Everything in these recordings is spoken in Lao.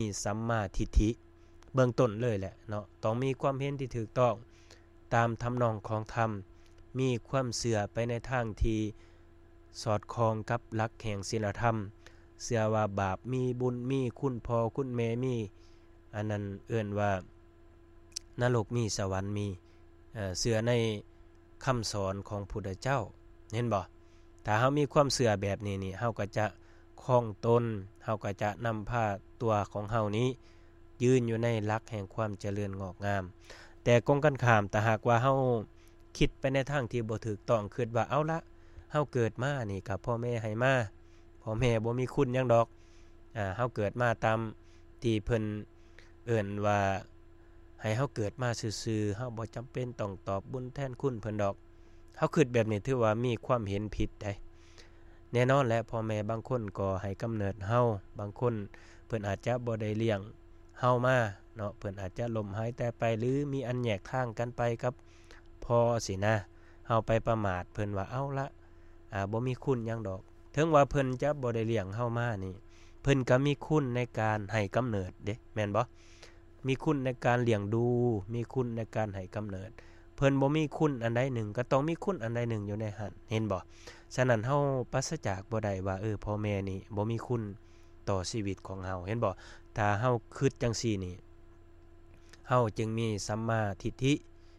ມີສຳມາທິດຖິເບື້ອງຕົ້ນເລີຍແຫຼະເນາະ, ຕ້ອງມີຄວາມເຫັນທີ່ຖືກຕ້ອງຕາມທຳນອງຂອງທຳ, ມີຄວາມເຊື່ອໄປໃນທາງທີ່ສອດຄ່ອງກັບຫຼັກແຫ່ງສິນລະທຳ, ເຊື່ອວ່າບາບມີບຸນ, ມີຄຸນພໍ່ຄຸນແມ່, ມີ ອັນນັ້ນເອີ້ນວ່ານະລົກມີສະຫວັນມີ, ເອີ ເຊື່ອໃນຄຳສອນຂອງພຸດທະເຈົ້າ, ເຫັນບໍ່? ຖ້າເຮົາມີຄວາມເຊື່ອແບບນີ້ນີ້ ເຮົາກໍຈະຄອງຕົນ, ເຮົາກໍຈະນຳພາຕົວຂອງເຮົານີ້ຢືນຢູ່ໃນຫຼັກແຫ່ງຄວາມຈະເລີນງອກງາມ. ແຕ່ກົງກັນຂ້າມ, ຖ້າຫາກວ່າເຮົາຄິດໄປໃນທາງທີ່ບໍ່ຖືກຕ້ອງ, ຄິດວ່າ ເອົາລະ, ເຮົາເກີດມານີ້ກໍພໍ່ແມ່ໃຫ້ມາ, ພໍ່ແມ່ບໍ່ມີຄຸນຫຍັງດອກ, ອາ ເຮົາເກີດມາຕາມທີ່ເພິ່ນເອີ້ນວ່າໃຫ້ເຮົາເກີດມາຊື່ໆ, ເຮົາບໍ່ຈຳເປັນຕ້ອງຕອບບຸນແທນຄຸນເພິ່ນດອກ. ເຮົາຄິດແບບນີ້ຖືວ່າມີຄວາມເຫັນຜິດໃດ໋. ແນ່ນອນແຫຼະ, ພໍ່ແມ່ບາງຄົນກໍໃຫ້ກຳເນີດເຮົາ, ບາງຄົນເພິ່ນອາດຈະບໍ່ໄດ້ລ້ຽງເຮົາມາເນາະ, ເພິ່ນອາດຈະລົ້ມຫາຍຕາຍໄປ ຫຼື ມີອັນແຍກທາງກັນໄປກັບພໍ່ຊີ້ນະ. ເຮົາໄປປະໝາດເພິ່ນວ່າ ເອົາລະ, ອາ ບໍ່ມີຄຸນຫຍັງດອກ. ເຖິງວ່າເພິ່ນຈະບໍ່ໄດ້ລ້ຽງເຮົາມານີ້, ເພິ່ນກໍມີຄຸນໃນການໃຫ້ກຳເນີດເດ້, ແມ່ນບໍ່? ມີຄຸນໃນການລ້ຽງດູ, ມີຄຸນໃນການໃຫ້ກຳເນີດ. ເພິ່ນບໍ່ມີຄຸນອັນໃດໜຶ່ງ, ກໍຕ້ອງມີຄຸນອັນໃດໜຶ່ງຢູ່ໃນຫັ້ນ, ເຫັນບໍ່? ສະນັ້ນ ເຮົາປາສະຈາກບໍ່ໄດ້ວ່າ, ເອີ, ພໍ່ແມ່ນີ້ບໍ່ມີຄຸນຕໍ່ຊີວິດຂອງເຮົາ, ເຫັນບໍ່? ຖ້າເຮົາຄິດຈັ່ງຊີ້ນີ້, ເຮົາຈຶ່ງມີສຳມາທິດຖິ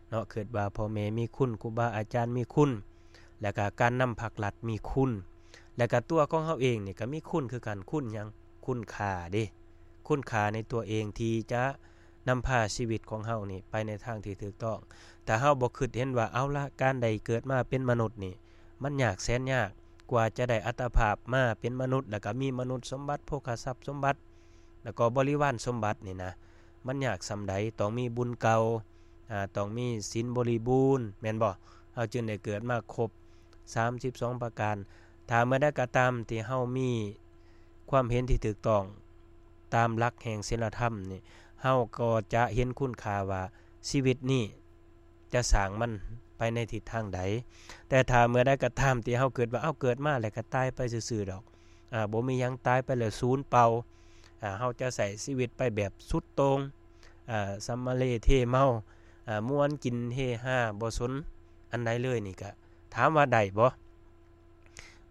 ເນາະ, ຄິດວ່າພໍ່ແມ່ມີຄຸນ, ຄູບາອາຈານມີຄຸນ, ແລ້ວກະການນຳພັກລັດມີຄຸນ, ແລ້ວກະຕົວຂອງເຮົາເອງນີ້ກະມີຄຸນຄືກັນ. ຄຸນຫຍັງ? ຄຸນຄ່າເດ້, ຄຸນຄ່າໃນຕົວເອງທີ່ຈະນຳພາຊີວິດຂອງເຮົານີ້ໄປໃນທາງທີ່ຖືກຕ້ອງ. ຖ້າເຮົາບໍ່ຄິດເຫັນວ່າ, ເອົາລະ, ການໄດ້ເກີດມາເປັນມະນຸດນີ້ ມັນຍາກແສນຍາກ, ກວ່າຈະໄດ້ອັດຕະພາບມາເປັນມະນຸດ, ແລ້ວກະມີມະນຸດສົມບັດ, ໂພຄະຊັບສົມບັດ, ແລ້ວກໍບໍລິວານສົມບັດນີ້ນະ, ມັນຍາກສ່ຳໃດ? ຕ້ອງມີບຸນເກົ່າ, ອາ, ຕ້ອງມີສິນບໍລິບູນ, ແມ່ນບໍ່? ເຮົາຈຶ່ງໄດ້ເກີດມາຄົບສາມສິບສອງປະການ. ຖ້າເມື່ອໃດກໍຕາມທີ່ເຮົາມີຄວາມເຫັນທີ່ຖືກຕ້ອງຕາມຫຼັກແຫ່ງສິນລະທຳນີ້, ເຮົາກໍຈະເຫັນຄຸນຄ່າວ່າຊີວິດນີ້ ຈະສ້າງມັນໄປໃນທິດທາງໃດ. ແຕ່ຖ້າເມື່ອໃດກໍຕາມທີ່ເຮົາຄິດວ່າ ເອົາ ເກີດມາແລ້ວກໍຕາຍໄປຊື່ໆດອກ, ອາ, ບໍ່ມີຫຍັງ, ຕາຍໄປແລ້ວສູນເປົ່າ, ອາ, ເຮົາຈະໃຊ້ຊີວິດໄປແບບສຸດໂຕ່ງ, ອາ, ສຳມະເລເທເມົາ, ອາ, ມ່ວນກິນເຮຮາ, ບໍ່ສົນອັນໃດເລີຍ, ນີ້ກະຖາມວ່າໄດ້ບໍ່?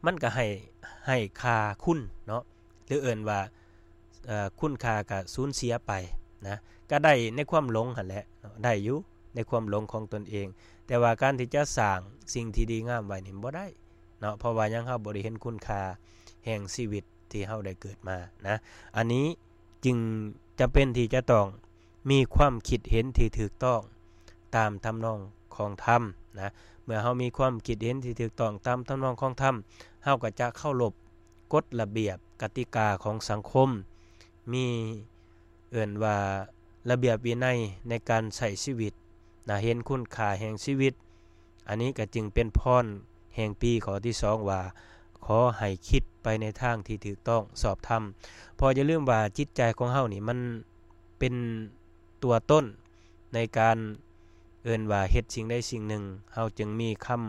ມັນກະໃຫ້, ໃຫ້ຄ່າຄຸນເນາະ. ຫຼືເອີ້ນວ່າ, ເອີ, ຄຸນຄ່າກະສູນເສຍໄປນະ, ກະໄດ້ໃນຄວາມຫຼົງຫັ້ນແຫຼະເນາະ, ໄດ້ຢູ່ໃນຄວາມຫຼົງຂອງຕົນເອງ, ແຕ່ວ່າການທີ່ຈະສ້າງສິ່ງທີ່ດີງາມໄວ້ນີ້ບໍ່ໄດ້ເນາະ. ເພາະວ່າຫຍັງ? ເຮົາບໍ່ໄດ້ເຫັນຄຸນຄ່າແຫ່ງຊີວິດທີ່ເຮົາໄດ້ເກີດມານະ. ອັນນີ້ຈຶ່ງຈຳເປັນທີ່ຈະຕ້ອງ ມີຄວາມຄິດເຫັນທີ່ຖືກຕ້ອງຕາມທຳນອງຂອງທຳນະ. ເມື່ອເຮົາມີຄວາມຄິດເຫັນທີ່ຖືກຕ້ອງຕາມທຳນອງຂອງທຳ, ເຮົາກໍຈະເຄົາລົບກົດລະບຽບກະຕິກາຂອງສັງຄົມ, ມີ ເອີ້ນວ່າລະບຽບວິໄນໃນການໃຊ້ຊີວິດນະ, ເຫັນຄຸນຄ່າແຫ່ງຊີວິດ. ອັນນີ້ກໍຈຶ່ງເປັນພອນແຫ່ງປີຂໍ້ທີສອງວ່າ, ຂໍໃຫ້ຄິດໄປໃນທາງທີ່ຖືກຕ້ອງຊອບທຳ. ເພາະຢ່າລືມວ່າຈິດໃຈຂອງເຮົານີ້ມັນ ເປັນຕົວຕົ້ນໃນການເອີ້ນວ່າເຮັດສິ່ງໃດສິ່ງໜຶ່ງ, ເຮົາຈຶ່ງມີຄຳ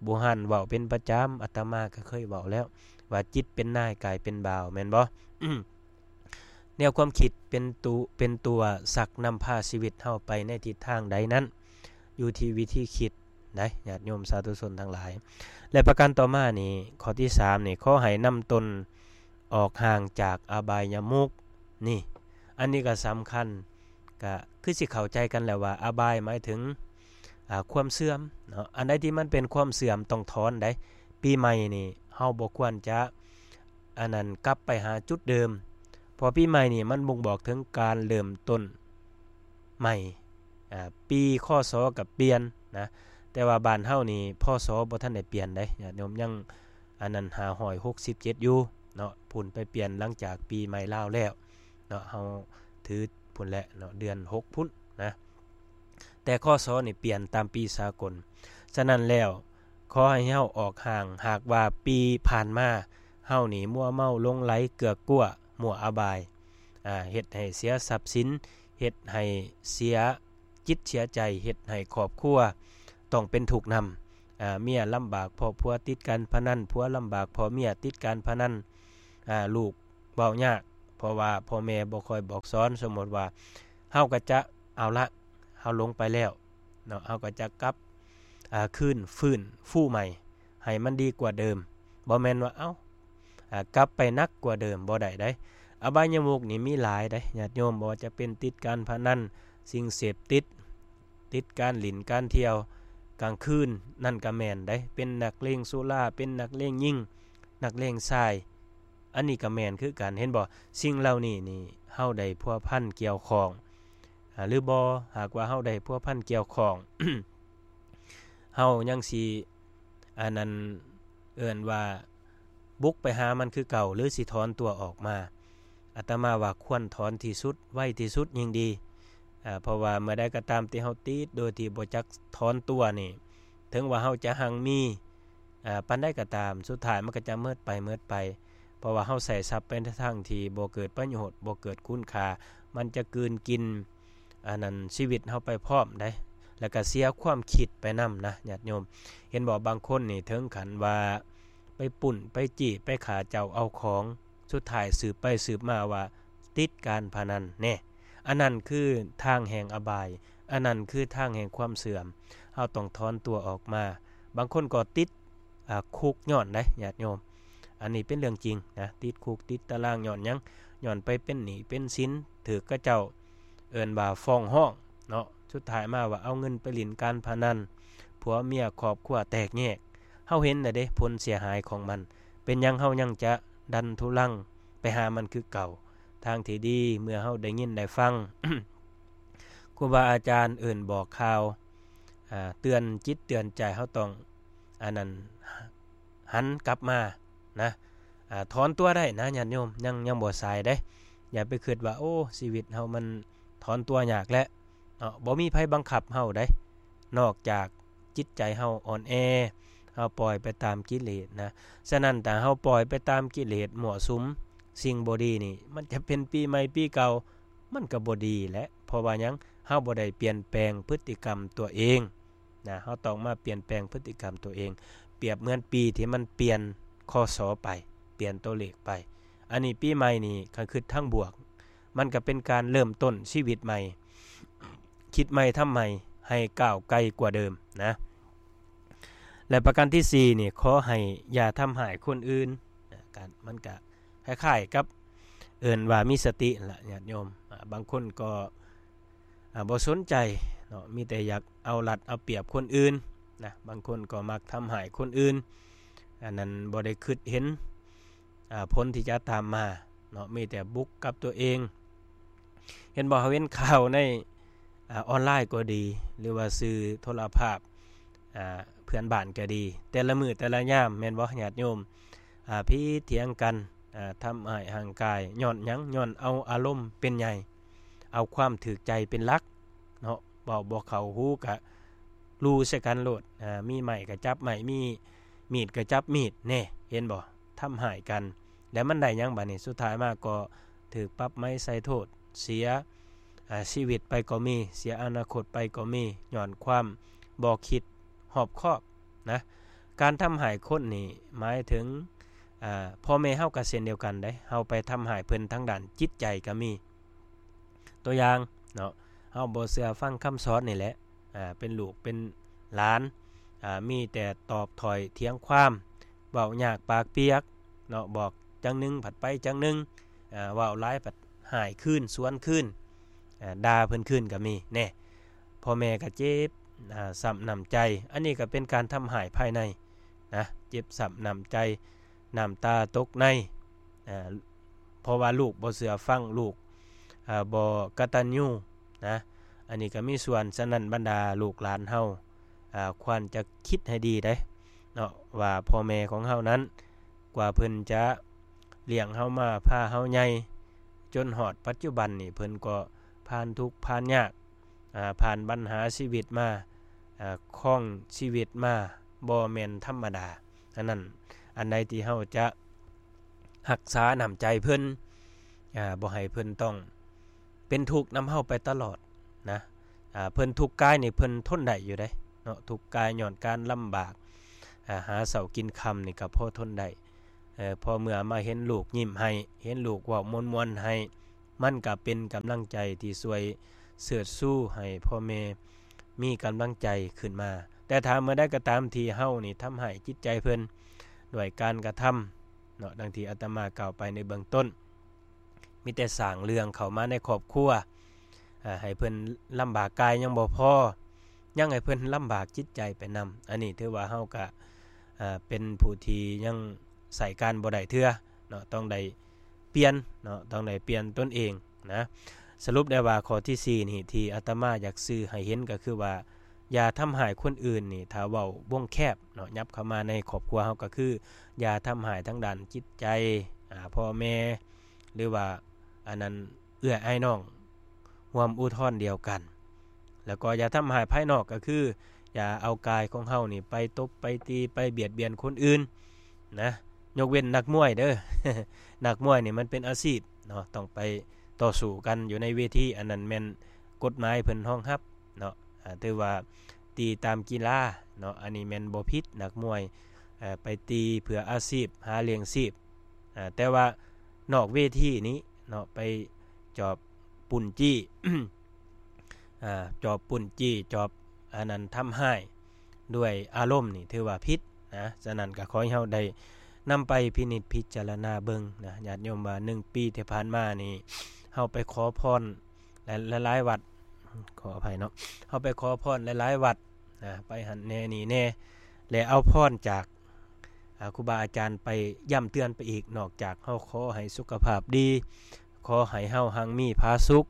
ບູຮານເວົ້າເປັນປະຈຳ, ອາດຕະມາກໍເຄີຍເວົ້າແລ້ວວ່າ ຈິດເປັນນາຍ ກາຍເປັນບ່າວ, ແມ່ນບໍ່? ແນວຄວາມຄິດເປັນຕຸ, ເປັນຕົວຊັກນຳພາຊີວິດເຮົາໄປໃນທິດທາງໃດນັ້ນ, ຢູ່ທີ່ວິທີຄິດ ໄດ໋ ຍາດໂຍມສາທຸຊົນທັງຫຼາຍ. ແລະ ປະການຕໍ່ມານີ້, ຂໍ້ທີສາມນີ້, ຂໍໃຫ້ນຳຕົນອອກຫ່າງຈາກອະບາຍຍະມຸກນີ້. ອັນນີ້ກໍສຳຄັນ, ກໍຄືຊິເຂົ້າໃຈກັນແລ້ວວ່າ ອະບາຍໝາຍເຖິງ, ອາ, ຄວາມເສື່ອມເນາະ. ອັນໃດທີ່ມັນເປັນຄວາມເສື່ອມຕ້ອງຖອນໄດ໋. ປີໃໝ່ນີ້ເຮົາບໍ່ຄວນຈະ ອັນນັ້ນ ກັບໄປຫາຈຸດເດີມ, ເພາະປີໃໝ່ນີ້ມັນບົ່ງບອກເຖິງການເລີ່ມຕົ້ນໃໝ່. ອາ, ປີ ຄ.ສ. ກໍປ່ຽນນະ, ແຕ່ວ່າບ້ານເຮົານີ້ ພ.ສ. ບໍ່ທັນໄດ້ປ່ຽນເດ້ ຍາດໂຍມ, ຍັງ ອັນນັ້ນ ຫ້າຮ້ອຍຫົກສິບເຈັດຢູ່ເນາະ, ພຸ້ນໄປປ່ຽນຫຼັງຈາກປີໃໝ່ລາວແລ້ວເນາະ, ເຮົາຖືພຸ້ນແຫຼະເນາະ, ເດືອນຫົກພຸ້ນນະ. ແຕ່ ຄ.ສ. ນີ້ປ່ຽນຕາມປີສາກົນ. ສະນັ້ນແລ້ວ, ຂໍໃຫ້ເຮົາອອກຫ່າງ, ຫາກວ່າປີຜ່ານມາເຮົານີ້ມົວເມົາຫຼົງໄຫຼເກືອກກົວມົວອະບາຍ, ອາ, ເຮັດໃຫ້ເສຍຊັບສິນ, ເຮັດໃຫ້ເສຍຈິດເສຍໃຈ, ເຮັດໃຫ້ຄອບຄົວຕ້ອງເປັນທຸກນຳ, ອາ, ເມຍລຳບາກເພາະຜົວຕິດການພະນັນ, ຜົວລຳບາກເພາະເມຍຕິດການພະນັນ, ອາ, ລູກເວົ້າຍາກ ເພ ພາະວ່າພໍ່ແມ່ບໍ່ຄ່ອຍບອກສອນ. ສົມມຸດວ່າເຮົາກໍຈະເອົາລະ ເຮົາລົງໄປແລ້ວເນາະ ເຮົາກໍຈະກັບ ອ່າ ຄືນຟື້ນຟູໃໝ່ ໃຫ້ມັນດີກວ່າເດີມ. ບໍ່ແມ່ນວ່າ ເອົ້າ ອ່າ ກັບໄປໜັກກວ່າເດີມ ບໍ່ໄດ້ໃດ. ອະບາຍຍະມຸກນີ້ມີຫຼາຍໃດ ຍາດໂຍມ, ບໍ່ວ່າຈະເປັນຕິດການພະນັນ, ສິ່ງເສບຕິດ, ຕິດການຫຼິ້ນການທ່ຽວກາງຄືນ ນັ້ນກໍແມ່ນໃດ, ເປັນນັກເລງສຸລາ, ເປັນນັກເລງຍິງ, ນັກເລງຊາຍ, ອັນນີ້ກໍແມ່ນຄືກັນ. ເຫັນບໍ່? ສິ່ງເຫຼົ່ານີ້ນີ້ ເຮົາໄດ້ພົວພັນກ່ຽວຂ້ອງ ອາ ຫຼືບໍ່? ຫາກວ່າເຮົາໄດ້ພົວພັນກ່ຽວຂ້ອງ ເຮົາຍັງຊິ ອັນນັ້ນ ເອີ້ນວ່າບຸກໄປຫາມັນຄືເກົ່າ ຫຼືຊິຖອນຕົວອອກມາ? ອາດຕະມາວ່າຄວນຖອນທີ່ສຸດ ໄວທີ່ສຸດຍິ່ງດີ. ອາ ເພາະວ່າເມື່ອໃດກໍຕາມທີ່ເຮົາຕິດໂດຍທີ່ບໍ່ຈັກຖອນຕົວນີ້ ເຖິງວ່າເຮົາຈະຮັ່ງມີ ອາ ປານໃດກໍຕາມ ສຸດທ້າຍມັນກໍຈະໝົດໄປ ໝົດໄປ. ເພາະວ່າເຮົາໃຊ້ຊັບໄປໃນທາງທີ່ບໍ່ເກີດປະໂຫຍດ ບໍ່ເກີດຄຸນຄ່າ ມັນຈະກືນກິນ ອັນນັ້ນ ຊີວິດເຮົາໄປພ້ອມໃດ ແລ້ວກໍເສຍຄວາມຄິດໄປນຳນະ ຍາດໂຍມ. ເຫັນບໍ່? ບາງຄົນນີ້ເຖິງຂັ້ນວ່າໄປປຸ້ນ ໄປຈີ້ ໄປຂ້າເຈົ້າເອົາຂອງ ສຸດທ້າຍສືບໄປສືບມາວ່າຕິດການພະນັນແນ່. ອັນນັ້ນຄືທາງແຫ່ງອະບາຍ, ອັນນັ້ນຄືທາງແຫ່ງຄວາມເສື່ອມ. ເຮົາຕ້ອງຖອນຕົວອອກມາ. ບາງຄົນກໍຕິດ ອາ ຄຸກຍ້ອນໃດ ຍາດໂຍມ. ອັນນີ້ເປັນເລື່ອງຈິງນະ, ຕິດຄຸກຕິດຕາລາງຍ້ອນຫຍັງ? ຍ້ອນໄປເປັນໜີ້ເປັນສິນ, ຖືກເຂົາເຈົ້າເອີ້ນວ່າຟ້ອງຮ້ອງເນາະ. ສຸດທ້າຍມາວ່າເອົາເງິນໄປຫຼິ້ນການພະນັນ, ຜົວເມຍຄອບຄົວແຕກແຍກ. ເຮົາເຫັນແລ້ວເດ້ ຜົນເສຍຫາຍຂອງມັນ. ເປັນຫຍັງເຮົາຍັງຈະດັນທຸລັງໄປຫາມັນຄືເກົ່າ? ທາງທີ່ດີ ເມື່ອເຮົາໄດ້ຍິນໄດ້ຟັງ ຄູບາອາຈານເອີ້ນບອກກ່າວ ອາ ເຕືອນຈິດເຕືອນໃຈ ເຮົາຕ້ອງ ອັນນັ້ນ ຫັນກັບມານະ ອາ ຖອນຕົວໄດ້ນະ ຍາດໂຍມ. ຍັງ ຍັງບໍ່ສາຍເດ້. ຢ່າໄປຄິດວ່າ ໂອ້ ຊີວິດເຮົາມັນຖອນຕົວຍາກແລ້ວເນາະ. ບໍ່ມີໃຜບັງຄັບເຮົາໃດ ນອກຈາກຈິດໃຈເຮົາອ່ອນແອ ເຮົາປ່ອຍໄປຕາມກິເລດນະ. ສະນັ້ນ ຖ້າເຮົາປ່ອຍໄປຕາມກິເລດ ມົ້ວສຸມ ສິ່ງບໍ່ດີນີ້ ມັນຈະເປັນປີໃໝ່ປີເກົ່າ ມັນກໍບໍ່ດີແຫຼະ. ເພາະວ່າຫຍັງ? ເຮົາບໍ່ໄດ້ປ່ຽນແປງພຶດຕິກຳຕົວເອງນະ. ເຮົາຕ້ອງມາປ່ຽນແປງພຶດຕິກຳຕົວເອງ. ປຽບເໝືອນປີທີ່ມັນປ່ຽນ ຄ.ສ. ໄປ, ປ່ຽນຕົວເລກໄປ. ອັນນີ້ປີໃໝ່ນີ້ ຄັນຄິດທາງບວກ ມັນກໍເປັນການເລີ່ມຕົ້ນຊີວິດໃໝ່, ຄິດໃໝ່ທຳໃໝ່ ໃຫ້ກ້າວໄກກວ່າເດີມນະ. ແລະ ປະການທີສີ່ນີ້ ຂໍໃຫ້ຢ່າທຳຮ້າຍຄົນອື່ນນະ. ການ ມັນກະຄ້າຍໆກັບເອີ້ນວ່າມີສະຕິຫັ້ນລະ ຍາດໂຍມ. ອາ ບາງຄົນກໍ ອາ ບໍ່ສົນໃຈເນາະ, ມີແຕ່ຢາກເອົາລັດເອົາປຽບຄົນອື່ນນະ. ບາງຄົນກໍມັກທຳຮ້າຍຄົນອື່ນ, ອັນນັ້ນບໍ່ໄດ້ຄິດເຫັນ ອາ ຜົນທີ່ຈະຕາມມາເນາະ, ມີແຕ່ບຸກກັບຕົວເອງ. ເຫັນບໍ່? ເຮົາເຫັນຂ່າວໃນ ອາ ອອນລາຍກໍດີ ຫຼືວ່າສື່ໂທລະພາບ ອາ ເພື່ອນບ້ານກໍດີ ແຕ່ລະມື້ແຕ່ລະຍາມ ແມ່ນບໍ່ ຍາດໂຍມ? ອາ ຜິດຖຽງກັນ ອາ ທຳຮ້າຍຮ່າງກາຍ ຍ້ອນຫຍັງ? ຍ້ອນເອົາອາລົມເປັນໃຫຍ່ ເອົາຄວາມຖືກໃຈເປັນຫຼັກເນາະ. ເວົ້າບໍ່ເຂົ້າຫູກະລູໃສ່ກັນໂລດ. ອາ ມີໄມ້ກະຈັບໄມ້ ມີມີດກະຈັບມີດແນ່ ເຫັນບໍ່? ທຳຮ້າຍກັນ ແລ້ວມັນໄດ້ຫຍັງບາດນີ້? ສຸດທ້າຍມາກໍຖືກປັບໃໝໃສ່ໂທດ ເສຍ ອາ ຊີວິດໄປກໍມີ, ເສຍອະນາຄົດໄປກໍມີ ຍ້ອນຄວາມບໍ່ຄິດຮອບຄອບນະ. ການທຳຮ້າຍຄົນນີ້ໝາຍເຖິງ ອາ ພໍ່ແມ່ເຮົາກໍເຊັ່ນດຽວກັນເດ້, ເຮົາໄປທຳຮ້າຍເພິ່ນທາງດ້ານຈິດໃຈກໍມີ. ຕົວຢ່າງເນາະ, ເຮົາບໍ່ເຊື່ອຟັງຄຳສອນນີ້ແຫຼະ, ອາ ເປັນລູກເປັນຫຼານ ອາ ມີແຕ່ຕອບຖ້ອຍຖຽງຄວາມ, ເວົ້າຍາກປາກປຽກເນາະ, ບອກຈັ່ງໜຶ່ງ ພັດໄປຈັ່ງໜຶ່ງ, ອາ ເວົ້າຫຼາຍ ພັດຮ້າຍຄືນ ສວນຄືນ, ອາ ດ່າເພິ່ນຄືນກໍມີແນ່. ພໍ່ແມ່ກໍເຈັບ ອາ ຊ້ຳນ້ຳໃຈ. ອັນນີ້ກໍເປັນການທຳຮ້າຍພາຍໃນນະ, ເຈັບຊ້ຳນ້ຳໃຈ, ນ້ຳຕາຕົກໃນ ອາ ເພາະວ່າລູກບໍ່ເຊື່ອຟັງ, ລູກ ອາ ບໍ່ກະຕັນຍູນະ, ອັນນີ້ກໍມີສ່ວນ. ສະນັ້ນ ບັນດາລູກຫຼານເຮົາ ອາ ຄວນຈະຄິດໃຫ້ດີເດ້ເນາະ ວ່າພໍ່ແມ່ຂອງເຮົານັ້ນ ກວ່າເພິ່ນຈະລ້ຽງເຮົາມາ ພາເຮົາໃຫຍ່ ຈົນຮອດປັດຈຸບັນນີ້ ເພິ່ນກໍຜ່ານທຸກຜ່ານຍາກ ອາ ຜ່ານບັນຫາຊີວິດມາ ອາ ຄອງຊີວິດມາ ບໍ່ແມ່ນທຳມະດາ. ອັນນັ້ນ ອັນໃດທີ່ເຮົາຈະຮັກສານ້ຳໃຈເພິ່ນ ອາ ບໍ່ໃຫ້ເພິ່ນຕ້ອງເປັນທຸກນຳເຮົາໄປຕະຫຼອດນະ. ອາ ເພິ່ນທຸກກາຍນີ້ເພິ່ນທົນໄດ້ຢູ່ເດ້ເນາະ, ທຸກກາຍຍ້ອນການລຳບາກ ອາ ຫາເຊົ້າກິນຄ່ຳນີ້ກໍພໍທົນໄດ້. ເອີ ພໍເມື່ອມາເຫັນລູກຍິ້ມໃຫ້ ເຫັນລູກເວົ້າມ່ວນໆໃຫ້ ມັນກໍເປັນກຳລັງໃຈທີ່ຊ່ວຍເສີດຊູໃຫ້ພໍ່ແມ່ມີກຳລັງໃຈຂຶ້ນມາ. ແຕ່ຖ້າເມື່ອໃດກໍຕາມທີ່ເຮົານີ້ທຳຮ້າຍຈິດໃຈເພິ່ນດ້ວຍການກະທຳເນາະ, ດັ່ງທີ່ອາດຕະມາກ່າວໄປໃນເບື້ອງຕົ້ນ, ມີແຕ່ສ້າງເລື່ອງເຂົ້າມາໃນຄອບຄົວ, ອາ, ໃຫ້ເພິ່ນລຳບາກກາຍຍັງບໍ່ພໍ, ຍັງໃຫ້ເພິ່ນລຳບາກຈິດໃຈໄປນຳ. ອັນນີ້ຖືວ່າເຮົາກະ, ອາ, ເປັນຜູ້ທີ່ຍັງໃຊ້ການບໍ່ໄດ້ເທື່ອເນາະ, ຕ້ອງໄດ້ປ່ຽນເນາະ, ຕ້ອງໄດ້ປ່ຽນຕົນເອງນະ. ສະຫຼຸບໄດ້ວ່າຂໍ້ທີສີ່ນີ້ ທີ່ອາດຕະມາຢາກສື່ໃຫ້ເຫັນກໍຄືວ່າ ຢ່າທຳຮ້າຍຄົນອື່ນນີ້, ຖ້າເວົ້າວົງແຄບເນາະ, ຫຍັບເຂົ້າມາໃນຄອບຄົວເຮົາກໍຄື ຢ່າທຳຮ້າຍທາງດ້ານຈິດໃຈ, ອາ, ພໍ່ແມ່ ຫຼືວ່າອັນນັ້ນເອື້ອຍອ້າຍນ້ອງຮ່ວມອຸທອນດຽວກັນ. ແລ້ວກໍຢ່າທຳຮ້າຍພາຍນອກ, ກໍຄືຢ່າເອົາກາຍຂອງເຮົານີ້ໄປຕົບໄປຕີໄປບຽດບຽນຄົນອື່ນນະ, ຍົກເວັ້ນນັກມວຍເດີ້. ນັກມວຍນີ້ມັນເປັນອາຊີບເນາະ, ຕ້ອງໄປຕໍ່ສູ້ກັນຢູ່ໃນເວທີ, ອັນນັ້ນແມ່ນກົດໝາຍເພິ່ນຮອງຮັບເນາະ. ອາ, ຖືວ່າຕີຕາມກິລາເນາະ, ອັນນີ້ແມ່ນບໍ່ຜິດ, ນັກມວຍ, ເອີ, ໄປຕີເພື່ອອາຊີບ, ຫາລ້ຽງຊີບ. ອາ, ແຕ່ວ່ານອກເວທີນີ້ເນາະ, ໄປຈອບປຸ້ນຈີ້, ອາ, ຈອບປຸ້ນຈີ້, ຈອບອັນນັ້ນທຳຮ້າຍດ້ວຍອາລົມນີ້ ຖືວ່າຜິດນະ. ສະນັ້ນກໍຂໍໃຫ້ເຮົາໄດ້ນຳໄປພິນິດພິຈາລະນາເບິ່ງນະ ຍາດໂຍມ, ວ່າໜຶ່ງປີທີ່ຜ່ານມານີ້ ເຮົາໄປຂໍພອນ ຫຼາຍໆວັດ, ຂໍອະໄພເນາະ, ເຮົາໄປຂໍພອນຫຼາຍໆວັດນະ, ໄປຫັ້ນແດ່ນີ້ແດ່ ແລະ ເອົາພອນຈາກ, ອາ, ຄູບາອາຈານໄປຢ້ຳເຕືອນໄປອີກ, ນອກຈາກເຮົາຂໍໃຫ້ສຸຂະພາບດີ, ຂໍໃຫ້ເຮົາຮັ່ງມີຜາສຸກ,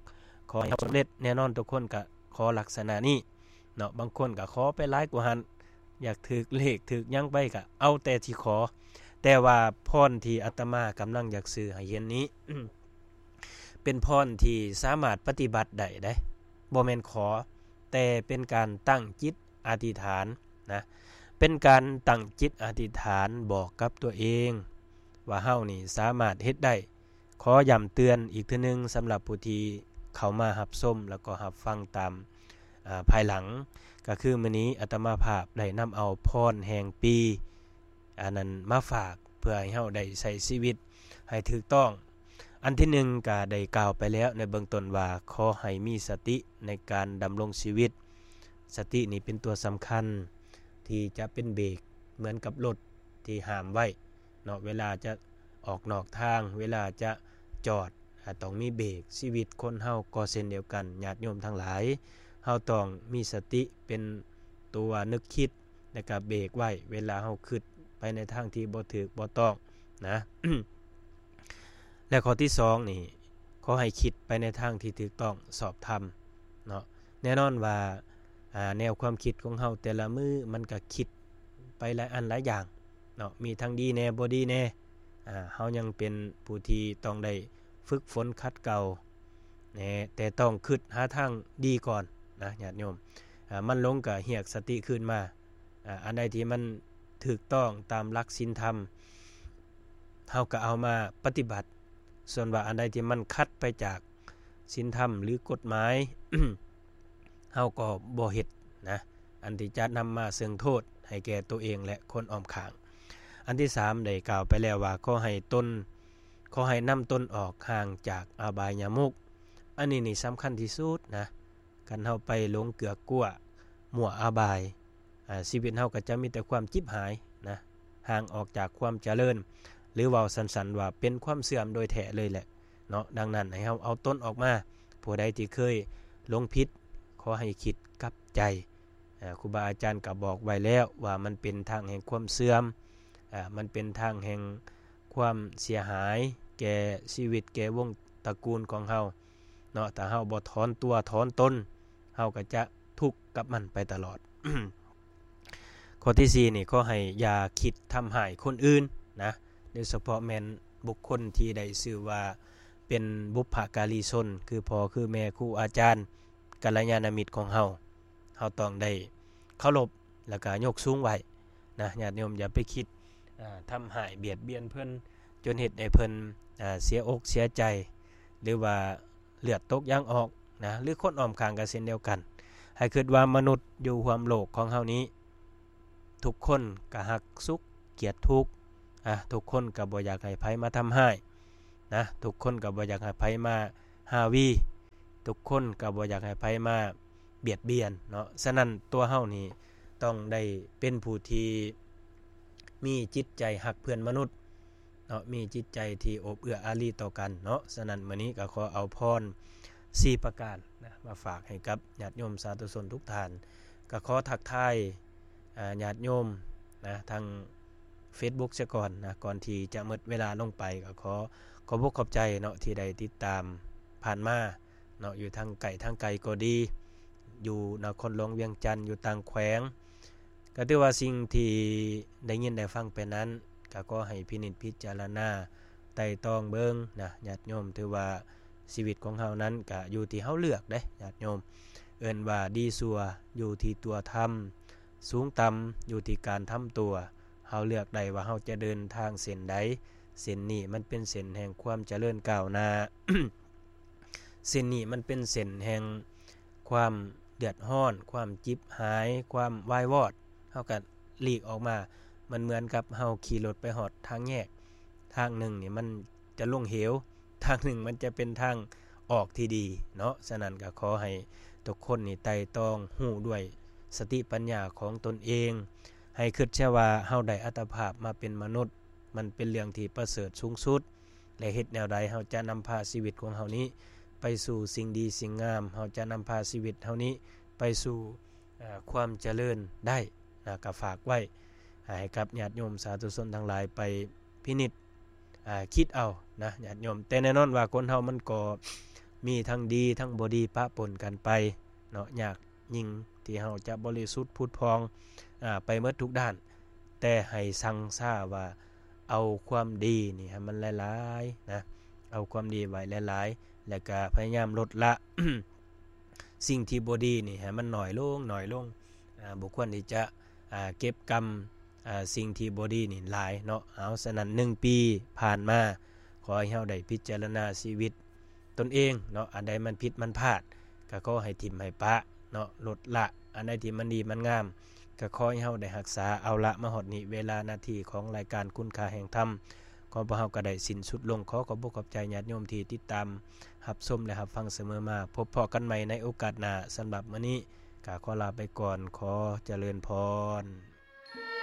ຂໍໃຫ້ເຮົາສຳເລັດ, ແນ່ນອນທຸກຄົນກໍຂໍລັກສະນະນີ້ເນາະ. ບາງຄົນກໍຂໍໄປຫຼາຍກວ່າຫັ້ນ, ຢາກຖືກເລກຖືກຫຍັງໄປກໍເອົາແຕ່ທີ່ຂໍ. ແຕ່ວ່າພອນທີ່ອາດຕະມາກຳລັງຢາກສື່ໃຫ້ເຫັນນີ້ ເປັນພອນທີ່ສາມາດປະຕິບັດໄດ້ເດ້, ບໍ່ແມ່ນຂໍ, ແຕ່ເປັນການຕັ້ງຈິດອະທິຖານນະ, ເປັນການຕັ້ງຈິດອະທິຖານບອກກັບຕົວເອງວ່າເຮົານີ້ສາມາດເຮັດໄດ້. ຂໍຢ້ຳເຕືອນອີກເທື່ອໜຶ່ງ ສຳລັບຜູ້ທີ່ເຂົ້າມາຮັບຊົມ ແລ້ວກໍຮັບຟັງຕາມ, ອາ, ພາຍຫຼັງ, ກໍຄືມື້ນີ້ອາດຕະມາພາບໄດ້ນຳເອົາພອນແຫ່ງປີ ອັນນັ້ນມາຝາກ ເພື່ອໃຫ້ເຮົາໄດ້ໃຊ້ຊີວິດໃຫ້ຖືກຕ້ອງ. ອັນທີໜຶ່ງກໍໄດ້ກ່າວໄປແລ້ວໃນເບື້ອງຕົ້ນວ່າ ຂໍໃຫ້ມີສະຕິໃນການດຳລົງຊີວິດ. ສະຕິນີ້ເປັນຕົວສຳຄັນທີ່ຈະເປັນເບຣກ ເໝືອນກັບລົດທີ່ຫ້າມໄວ້ເນາະ, ເວລາຈະອອກນອກທາງ, ເວລາຈະຈອດ, ອາ, ຕ້ອງມີເບຣກ. ຊີວິດຄົນເຮົາກໍເຊັ່ນດຽວກັນ, ຍາດໂຍມທັງຫຼາຍ, ເຮົາຕ້ອງມີສະຕິເປັນຕົວນຶກຄິດ ແລ້ວກໍເບຣກໄວ້ ເວລາເຮົາຄິດໄປໃນທາງທີ່ບໍ່ຖືກບໍ່ຕ້ອງນະ. ແລະ ຂໍ້ທີສອງນີ້ ຂໍໃຫ້ຄິດໄປໃນທາງທີ່ຖືກຕ້ອງຊອບທຳເນາະ. ແນ່ນອນວ່າ, ອາ, ແນວຄວາມຄິດຂອງເຮົາແຕ່ລະມື້ມັນກໍຄິດໄປຫຼາຍອັນຫຼາຍຢ່າງເນາະ, ມີທັງດີແດ່ ບໍ່ດີແດ່. ອາ, ເຮົາຍັງເປັນຜູ້ທີ່ຕ້ອງໄດ້ຝຶກຝົນຂັດເກົາແດ່, ແຕ່ຕ້ອງຄິດຫາທາງດີກ່ອນນະ ຍາດໂຍມ. ອາ, ມັນຫຼົງກໍຮຽກສະຕິຄືນມາ. ອາ, ອັນໃດທີ່ມັນຖືກຕ້ອງຕາມຫຼັກສິນທຳ ເຮົາກໍເອົາມາປະຕິບັດ, ສ່ວນວ່າອັນໃດທີ່ມັນຂັດໄປຈາກສິນທຳ ຫຼື ກົດໝາຍ ເຮົາກໍບໍ່ເຮັດນະ, ອັນທີ່ຈະນຳມາເຊິ່ງໂທດໃຫ້ແກ່ຕົວເອງ ແລະ ຄົນອ້ອມຂ້າງ. ອັນທີສາມໄດ້ກ່າວໄປແລ້ວວ່າ ຂໍໃຫ້ຕົນ, ຂໍໃຫ້ນຳຕົນອອກຫ່າງຈາກອະບາຍຍະມຸກ. ອັນນີ້ນີ້ສຳຄັນທີ່ສຸດນະ, ຄັນເຮົາໄປຫຼົງເກືອກກົວມົວອະບາຍ, ອາ, ຊີວິດເຮົາກໍຈະມີແຕ່ຄວາມຈິບຫາຍນະ, ຫ່າງອອກຈາກຄວາມຈະເລີນ, ຫຼື ເວົ້າສັ້ນໆວ່າເປັນຄວາມເສື່ອມໂດຍແທ້ເລີຍແຫຼະເນາະ. ດັ່ງນັ້ນ ໃຫ້ເຮົາເອົາຕົນອອກມາ, ຜູ້ໃດທີ່ເຄີຍຫຼົງຜິດ ຂໍໃຫ້ຄິດກັບໃຈ. ອາ, ຄູບາອາຈານກໍບອກໄວ້ແລ້ວວ່າມັນເປັນທາງແຫ່ງຄວາມເສື່ອມ, ອາ, ມັນເປັນທາງແຫ່ງຄວາມເສຍຫາຍແກ່ຊີວິດ ແກ່ວົງຕະກູນຂອງເຮົາເນາະ. ຖ້າເຮົາບໍ່ຖອນຕົວຖອນຕົນ, ເຮົາກໍຈະທຸກກັບມັນໄປຕະຫຼອດ. ຂໍ້ທີສີ່ນີ້ ຂໍໃຫ້ຢ່າຄິດທຳຮ້າຍຄົນອື່ນນະ, ໂດຍສະເພາະແມ່ນບຸກຄົນທີ່ໄດ້ຊື່ວ່າເປັນບຸບພະກາລີຊົນ ຄືພໍ່ ຄືແມ່, ຄູອາຈານ, ກັນລະຍານະມິດຂອງເຮົາ. ເຮົາຕ້ອງໄດ້ເຄົາລົບ ແລ້ວກໍຍົກສູງໄວ້ນະ. ຍາດໂຍມຢ່າໄປຄິດ, ອາ, ທຳຮ້າຍບຽດບຽນເພິ່ນ ຈົນເຮັດໃຫ້ເພິ່ນ, ອາ, ເສຍອົກເສຍໃຈ ຫຼືວ່າ ເລືອດຕົກຢາງອອກນະ, ຫຼືຄົນອ້ອມຂ້າງກໍເຊັ່ນດຽວກັນ. ໃຫ້ຄິດວ່າມະນຸດຢູ່ຮ່ວມໂລກຂອງເຮົານີ້ ທຸກຄົນກໍຮັກສຸກກຽດທຸກ, ອ່າ ທຸກຄົນກໍບໍ່ຢາກໃຫ້ໃຜມາທຳຮ້າຍນະ, ທຸກຄົນກໍບໍ່ຢາກໃຫ້ໃຜມາຮາວີ, ທຸກຄົນກໍບໍ່ຢາກໃຫ້ໃຜມາບຽດບຽນເນາະ. ສະນັ້ນ ຕົວເຮົານີ້ຕ້ອງໄດ້ເປັນຜູ້ທີ່ມີຈິດໃຈຮັກເພື່ອນມະນຸດເນາະ, ມີຈິດໃຈທີ່ໂອບເອື້ອອາລີຕໍ່ກັນເນາະ. ສະນັ້ນ ມື້ນີ້ກໍຂໍເອົາພອນສີ່ປະການນະ ມາຝາກໃຫ້ກັບຍາດໂຍມສາທຸຊົນທຸກທ່ານ. ກໍຂໍທັກທາຍ ອາ ຍາດໂຍມນະ ທາງ Facebook ຊະກ່ອນນະ, ກ່ອນທີ່ຈະໝົດເວລາລົງໄປ ກໍຂໍຂອບອົກຂອບໃຈເນາະ ທີ່ໄດ້ຕິດຕາມຜ່ານມາເນາະ, ຢູ່ທາງໃກ້ທາງໄກກໍດີ, ຢູ່ນະຄອນຫຼວງວຽງຈັນ, ຢູ່ຕ່າງແຂວງ, ກໍຖືວ່າສິ່ງທີ່ໄດ້ຍິນໄດ້ຟັງໄປນັ້ນ ກໍຂໍໃຫ້ພິນິດພິຈາລະນາໄຕ່ຕອງເບິ່ງນະ ຍາດໂຍມ. ຖືວ່າຊີວິດຂອງເຮົານັ້ນ ກໍຢູ່ທີ່ເຮົາເລືອກເດ້ ຍາດໂຍມ. ເອີ້ນວ່າດີຊົ່ວຢູ່ທີ່ຕົວທຳ, ສູງຕ່ຳຢູ່ທີ່ການທຳຕົວ. ເຮົາເລືອກໄດ້ວ່າເຮົາຈະເດີນທາງເສັ້ນໃດ. ເສັ້ນນີ້ມັນເປັນເສັ້ນແຫ່ງຄວາມຈະເລີນກ້າວໜ້າ, ເສັ້ນນີ້ມັນເປັນເສັ້ນແຫ່ງຄວາມເດືອດຮ້ອນ, ຄວາມຈິບຫາຍ, ຄວາມວາຍວອດ. ເຮົາກໍຫຼີກອອກມາ. ມັນເໝືອນກັບເຮົາຂີ່ລົດໄປຮອດທາງແຍກ, ທາງໜຶ່ງນີ້ມັນຈະລົງເຫວ, ທາງໜຶ່ງມັນຈະເປັນທາງອອກທີ່ດີເນາະ. ສະນັ້ນກໍຂໍໃຫ້ທຸກຄົນນີ້ໄຕ່ຕອງຮູ້ດ້ວຍສະຕິປັນຍາຂອງຕົນເອງ, ໃຫ້ຄິດເສຍວ່າເຮົາໄດ້ອັດຕະພາບມາເປັນມະນຸດ, ມັນເປັນເລື່ອງທີ່ປະເສີດສູງສຸດ ແລະ ເຮັດແນວໃດເຮົາຈະນຳພາຊີວິດຂອງເຮົານີ້ໄປສູ່ສິ່ງດີສິ່ງງາມ, ເຮົາຈະນຳພາຊີວິດເຮົານີ້ໄປສູ່ ເອີ ຄວາມຈະເລີນໄດ້ນະ. ກໍຝາກໄວ້ໃຫ້ກັບຍາດໂຍມສາທຸຊົນທັງຫຼາຍໄປພິນິດ ອາ ຄິດເອົານະ ຍາດໂຍມ. ແຕ່ແນ່ນອນວ່າຄົນເຮົາມັນກໍມີທັງດີທັງບໍ່ດີປະປົນກັນໄປເນາະ, ຍາກຍິ່ງທີ່ເຮົາຈະບໍລິສຸດຜຸດຜ່ອງ ອາ ໄປໝົດທຸກດ້ານ. ແຕ່ໃຫ້ຊັ່ງຊາວ່າເອົາຄວາມດີນີ້ໃຫ້ມັນຫຼາຍໆນະ, ເອົາຄວາມດີໄວ້ຫຼາຍໆ ແລ້ວກະພະຍາຍາມລົດລະ ສິ່ງທີ່ບໍ່ດີນີ້ໃຫ້ມັນໜ້ອຍລົງ, ໜ້ອຍລົງ. ອາ ບໍ່ຄວນທີ່ຈະ ອາ ເກັບກຳ ອາ ສິ່ງທີ່ບໍ່ດີນີ້ຫຼາຍເນາະ. ເອົາ ສະນັ້ນ ໜຶ່ງປີຜ່ານມາ, ຂໍໃຫ້ເຮົາໄດ້ພິຈາລະນາຊີວິດຕົນເອງເນາະ, ອັນໃດມັນຜິດມັນພາດ ກໍຂໍໃຫ້ຖິ້ມໃຫ້ປະເນາະ, ລົດລະ. ອັນໃດທີ່ມັນດີມັນງາມ ກໍຂໍໃຫ້ເຮົາໄດ້ຮັກສາ. ເອົາລະ ມາຮອດນີ້ ເວລານາທີຂອງລາຍການຄຸນຄ່າແຫ່ງທຳ ຂອງພວກເຮົາກໍໄດ້ສິ້ນສຸດລົງ. ຂໍຂອບອົກຂອບໃຈຍາດໂຍມທີ່ຕິດຕາມຮັບຊົມ ແລະ ຮັບຟັງສະເໝີມາ. ພົບພໍ້ກັນໃໝ່ໃນໂອກາດໜ້າ. ສຳລັບມື້ນີ້ກໍຂໍລາໄປກ່ອນ. ຂໍຈະເລີນພອນ.